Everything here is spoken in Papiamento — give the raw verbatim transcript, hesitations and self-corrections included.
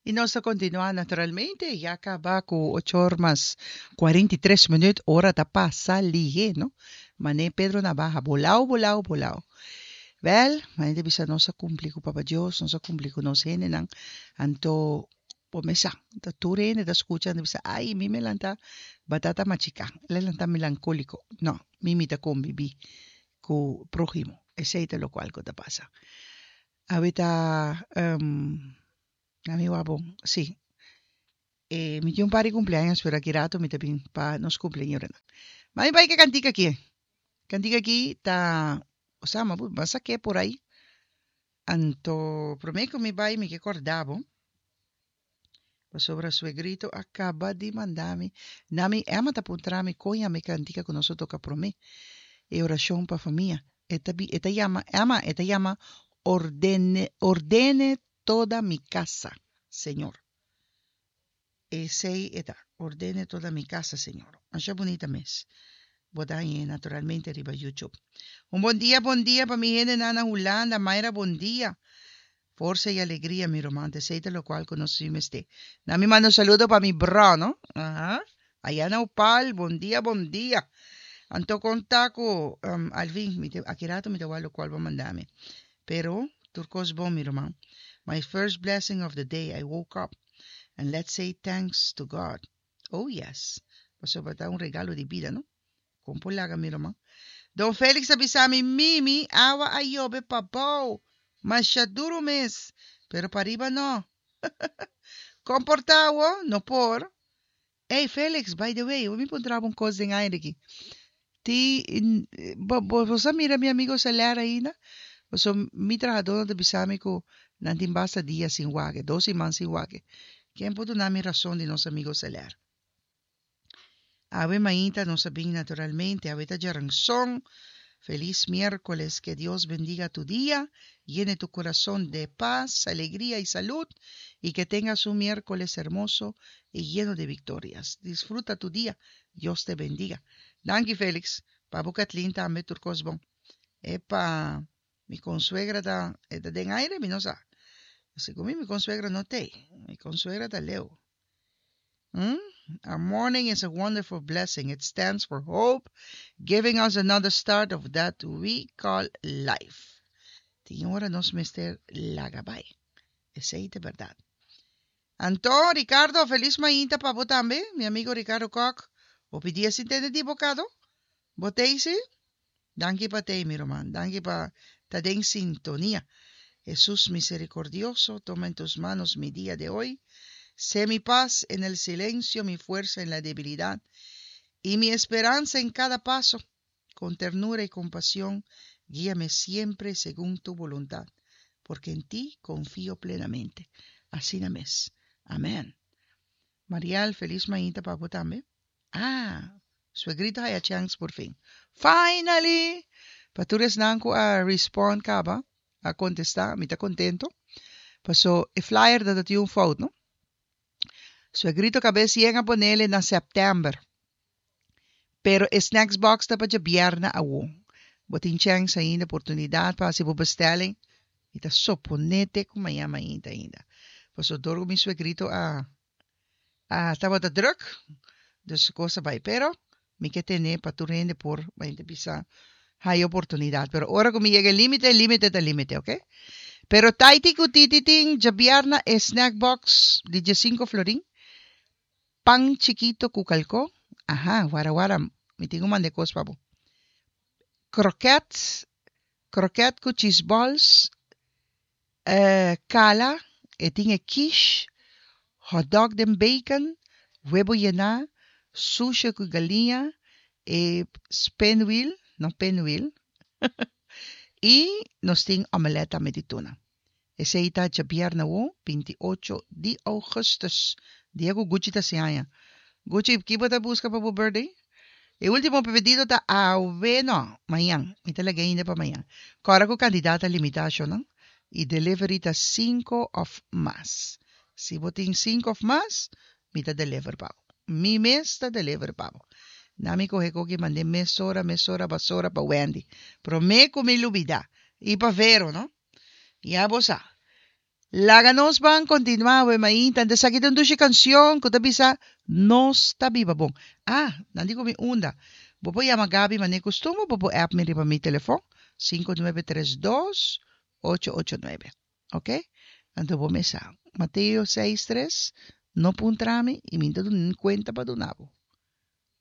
I nos ta kontinuá naturalmente, ya kaba ku ocho or mas kuarenta i tres minüt, ora ta pasa lihé, no? Mané Pedro Navaja, bolao, bolao, bolao. Wèl, manera ta bisa nos a kumpli ku Papa Dios, nos a kumpli ku nos hendenan, anto bo mes sa, ta tur hende ta skucha, nan ta bisa, ai, mi me lanta batata machiká, el a lanta melankóliko. No, mi mi ta kombibí ku próhimo, esei ta lokual ku ta pasa. Awe ta, na mi wak bon, sí. E, mi tin un par di kumpleaños, pero aki rato mi ta bin pa nos kumpleañeronan. Ma mi bai ku e kantika aki. Kantika aki ta, osea, mi a sak'é por ai. Anto, promé ku mi bai mi ke kòrda bo, pasobra suegrito a kaba di manda mi. Na mi Emma ta puntra mi kon yama e kantika ku nos a toka promé, e orashon pa famia. E ta bi, e ta yama, Emma, e ta yama Ordene, Ordene toda mi casa, Señor. Esei e ta, Ordene toda mi casa, Señor. Masha bunita mes. Bo ta hañ'é naturalmente riba YouTube. Un bon dia, bon dia pa mi hendenan na Hulanda. Mayra, bon dia. Forsa i alegria, mi ruman. Esei ta lokual ku nos si mester. Na mi manda un saludo pa mi bro, no? Aha. Aya na Opal, bon dia, bon dia. Anto konta ku um, Alvin, mi te, aki rato mi ta wak lokual bo manda mi. Pero, tur kos bon, mi ruman. My first blessing of the day, I woke up and let's say thanks to God. Oh yes. Pasobra ta un regalo di bida, no? Kon por laga, mi ruman. Don Felix a bisa mi, Mimi, awa a yobe pabou. Masha duru mes. Pero pariba no. Komportá bo? No por. Hey Felix, by the way, mi puntra bo un kos den aire aki. Ti, bo, bo, bo a mira mi amigo Celer ainda? So, mi trahadónan ta bisa mi ku nan tin basta dia sin wak e, dos siman sin wak e. Ken por duna mi rason di nos amigo Celer? Awe mainta nos a bin naturalmente, awe ta djaranson. Felis miérkoles, que Dios bendiga tu dia, llene tu corazón de paz, alegría y salud y que tengas un miércoles hermoso y lleno de victorias. Disfruta tu día. Dios te bendiga. Danki Felix. Pa bo Kathleen tambe tur kos bon. Epa, mi konsuegra ta, e ta den aire, mi no sa. Segun mi, mi konsuegra no t'ei. Mi konsuegra ta leu. Hmm? Our morning is a wonderful blessing. It stands for hope, giving us another start of that we call life. Tin ora nos mester laga bai. Esei ta bèrdat. Anto, Ricardo, felis mainta pa bo tambe, mi amigo Ricardo Koch. Hopi dia sin tende di bo kado. Bo t'ei si? Danki pa t'ei, mi ruman. Danki pa ta den sintonia. Jesús misericordioso, toma en tus manos mi día de hoy. Sé mi paz en el silencio, mi fuerza en la debilidad y mi esperanza en cada paso. Con ternura y compasión, guíame siempre según tu voluntad, porque en ti confío plenamente. Asina mes. Amèn. Marial, felis mainta pa bo tambe. Ah, suegrito a haya chance por fin. Finally! Pa tur esnan ku a respond kaba, a kontestá, mi ta kontentu. Paso e flyer ta tin un fout, no? Suegrito kabes yen a ponele na sèptèmber. Pero e snacks box ta pa djabièrnè awo. Bo tin chèns ainda, oportunidat pa hasi bo bestelling. Mi ta suponé te ku mañan mainta ainda. Paso dor ku mi suegrito a a tabata drùk, dus kos a bai. Pero mi ke tene pa tur hende por mainta bisa haya oportunidat. Pero ora ku mi yega e límite, límite ta límite, oké? Pero Taiti ku Titi tin djabièrnè e snack box di diesinku florin. Pan chikito ku kalkó. Aha, wara wara, mi tin ku manda e kos pa bo. Kroket, kroket ku cheese balls, eh, kala, e tin e quiche, hot dog den bacon, webo yená, sushi ku galiña, e spinwheel, no pinwheel, i nos tin omelet tambe di tuna. Esei ta djabièrnè awo, binti ocho di ougùstùs, dia ku Gucci ta hasi aña. Gucci, ki bo ta buska pa bo birthday? E último pedido ta awe, no, mañan. Mi ta laga ainda pa mañan. Kòrda ku kantidat ta limitá, shonnan. I delivery ta sinku òf mas. Si bo tin sinku òf mas, mi ta deliver pa bo. Mi mes ta deliver pa bo. Na mi kohe koki mand'é mesora, mesora, basora pa Wendy. Promé ku mi lubidá. I pa Vero, no? Ya bo sa. Laga nos ban kontinuá we mainta. Anto esaki ta un dushi kanshon ku ta bisa Nos ta biba bon. Ah, nan di ku mi unda. Bo por yama Gabi manera kustumber, bo por app mi riba mi telefòn sinku nuebe tres dos ocho ocho nuebe. Ok? Anto bo mes sa. Mateo seis tres, No puntra mi i mi no ta duna ni kuenta pa duna bo.